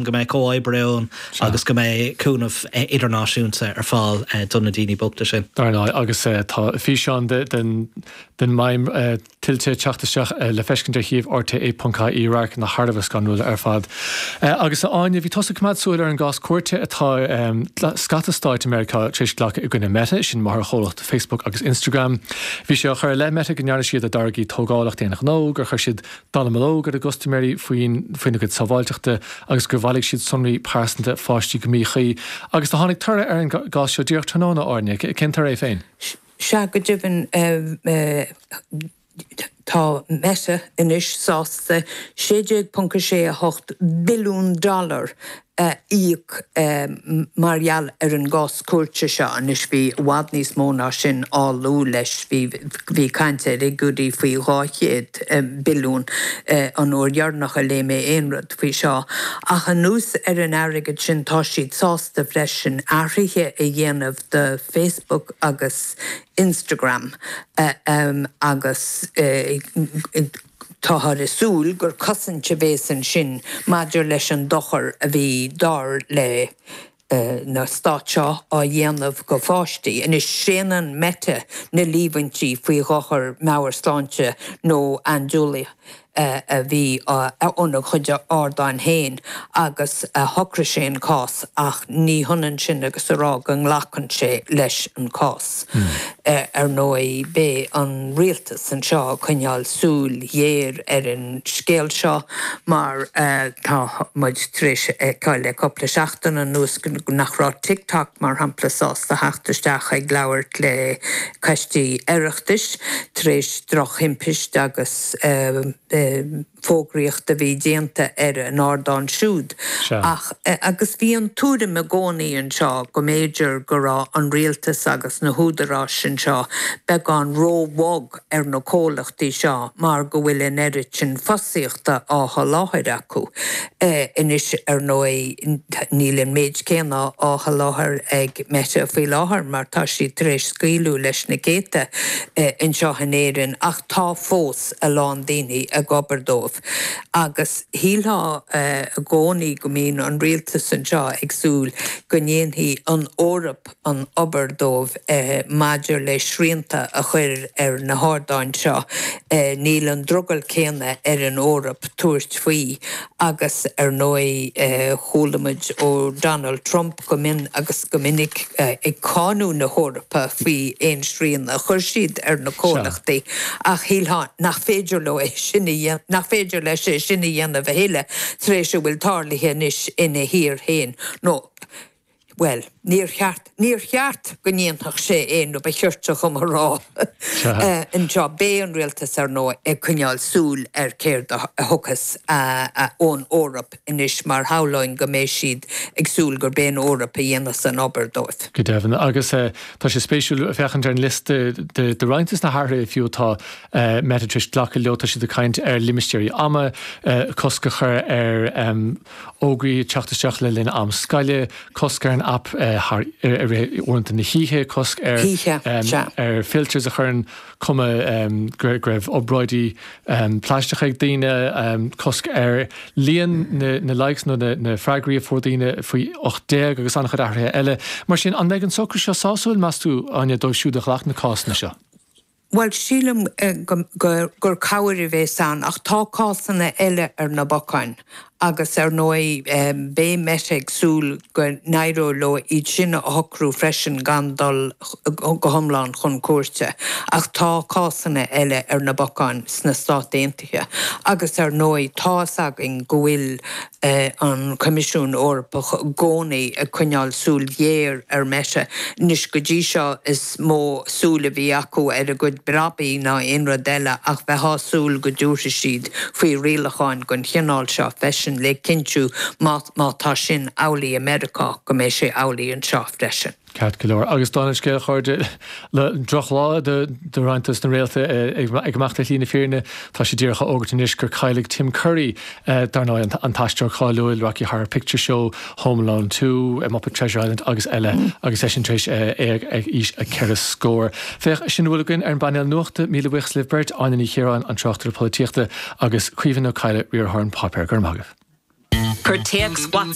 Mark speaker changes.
Speaker 1: Go mbeidh comhoibriú ann agus go mbeidh cúnamh idirnáisiúnta ar fáil do na daoine bochta sin.
Speaker 2: Dar ndóigh, agus tá físeán den maidhm tuilte ag teacht isteach le feiscint ar shuíomh rte.ie, radharcanna thar a bheith scanrúil ar fad. Agus a Áine, bhí tusa ag coimeád súil ar an gcás cúirte atá scata stáit i Meiriceá tar éis glacadh i gcoinne Meta, sin máthairchomhlacht Facebook agus Instagram. Bhí sé á chur i leith Meta go ndearna siad a dtáirgí tógálach d'aon ghnó, gur chuir siad dallamullóg ar a gcustaiméirí faoina gcuid sábháilteachta agus gur bhailigh siad sonraí pearsanta pháistí go míchuí. Agus do tháinig toradh ar an gcás seo díreach tráthnóna, a Áine. Cén toradh é féin?
Speaker 3: Sea, go deimhin, tá Meta anois sásta 16.68 billiún dollar a íoc mar gheall ar an gcás cúirte seo. Anois bhí i bhfad níos mó ná sin á lua leis, bhí bhí caint ar fhigiúirí faoi 200 billiún an uair dheireanach a léigh mé aon rud faoi seo. Ach anuas ar an airgead sin tá siad sásta freisin athruithe a dhéanamh do Facebook agus Instagram agus Táthar ag súil gur cosaint a bhéas ansin maidir leis an dochar a bhí, dar le na stáit seo, á dhéanamh go pháistí. Anois, séanann Meta na líomhaintí faoi dhochar meabhairshláinte nó andúile a bhí óna chuid ardáin féin agus shocraigh sé an cás ach ní hionann sin agus a rá go nglacann sé leis an cás. Ar ndóigh, beidh an rialtas anseo ag coinneáil súil ghéar ar an scéal seo mar tá muid tar éis a fheiceáil le cúpla seachtain anuas nach raibh TikTok, mar shampla, sásta theacht isteach ag labhairt le coistí Oireachtais tar éis drochthimpist agus fógraíocht a bhí déanta ar a n-ardán siúd. Ach, agus bhí an tuairim i gcónaí anseo go mb'fhéidir go raibh an rialtas agus na húdaráis anseo beagán ró-bhog ar na comhlachtaí seo mar go bhfuil an oiread sin fostaíochta á sholáthar acu. Anois, ar ndóigh, níl an méid céanna á sholáthar ag Meta faoi láthair mar tá siad tar éis scaoileadh leis na céadta anseo in Éirinn ach tá fós a lán daoine ag obair dóibh agus shílfeá i gcónaí go mbíonn an rialtas anseo ag súil go ndéanfaidh an Eoraip an obair dóibh maidir le srianta a chur ar na hardáin seo. Níl an drogall céanna ar an Eoraip tabhairt faoi agus ar ndóigh chuala muid ó Donald Trump go mion agus go minic ag cáineadh na hEorpa faoi aon srian a chuir siad ar na comhlachtaí ach shílfeá nach féidir leo é sin a dhéanamh, nach féidir leis é sin a dhéanamh a thuilleadh tar éis a bhfuil tarlaithe anois ina thír féin nó, bhuel, níor cheart, níor cheart go ndéanfadh sé é nó ba chirte dhom a rá anseo. Beidh an rialtas, ar ndóigh, ag coinneáil súil ar céard a thiocfas ón Eoraip anois mar shamhlóinn go mbeidh siad ag súil gurb é an Eoraip a dhéanfas an obair
Speaker 2: dóibh. Go deimhin. Agus tá sé spéisiúil féachaint ar an liosta de roinnt des na hathruithe fiú atá Meta tar éis glacadh leo. Tá siad ag caint ar limistéirí ama, cosc a chur ar fhógraí ag teacht isteach le linn am scoile, cosc ar an aip thar i rith uaireanta na hoíche, cosc ar ar filters a chuireann cuma go raibh obráidí plaisteacha ag daoine, cosc ar líon na likes nó na freagraí a fuair daoine faoi 18 agus an-chuid athruithe eile. Mar sin, an mbeidh an socrú seo sásúil, meas tú, Áine, dóibh siúd a ghlac na cásanna seo?
Speaker 3: Bhuel, sílim gur cabhair a bhéas ann, ach tá cásanna eile ar na bacáin agus ar ndóigh beidh Meta ag súil go n-éireoidh leo iad sin a shocrú freisin gan dul go hiomlán chun cúirte. Ach tá cásanna eile ar na bacáin sna Stáit Aontaithe agus ar ndóigh tá's againn go bhfuil an Coimisiún Eorpach i gcónaí ag coinneáil súil ghéar ar Meta. Anois, go dtí seo is mó súil a bhí acu ar a gcuid brabaí ná aon rud eile ach bheifeá ag súil go dtabharfaidh siad faoi rialacháin den chineál seo freisin le cinntiú má má tá sin amhlaidh i Meiriceá go mbeidh sé amhlaidh anseo freisin.
Speaker 2: Ceart go leor. Agus dála an scéil, a chairde, drochlá do roinnt dos na réalta ag imeacht ar shlí na fírinne. Tá sé díreach á fhógairt anois gur cailleadh Tim Curry, dar ndóigh, an t-aisteoir cáiliúil, Rocky Horror Picture Show, Home Alone 2, Muppet Treasure Island agus eile, agus eisean tar éis éag ag aois a ceithre scór. Féach, sin a bhfuil againn ar an bpainéal nuachta. Míle buíochas libh beirt, Áine Ní Chiaráin, an tráchtaire polaitíochta, agus Caoimhín Ó Cadhla, riarthóir An Páipéar. Go raibh maith agaibh.
Speaker 4: Cuir téacs WhatsApp.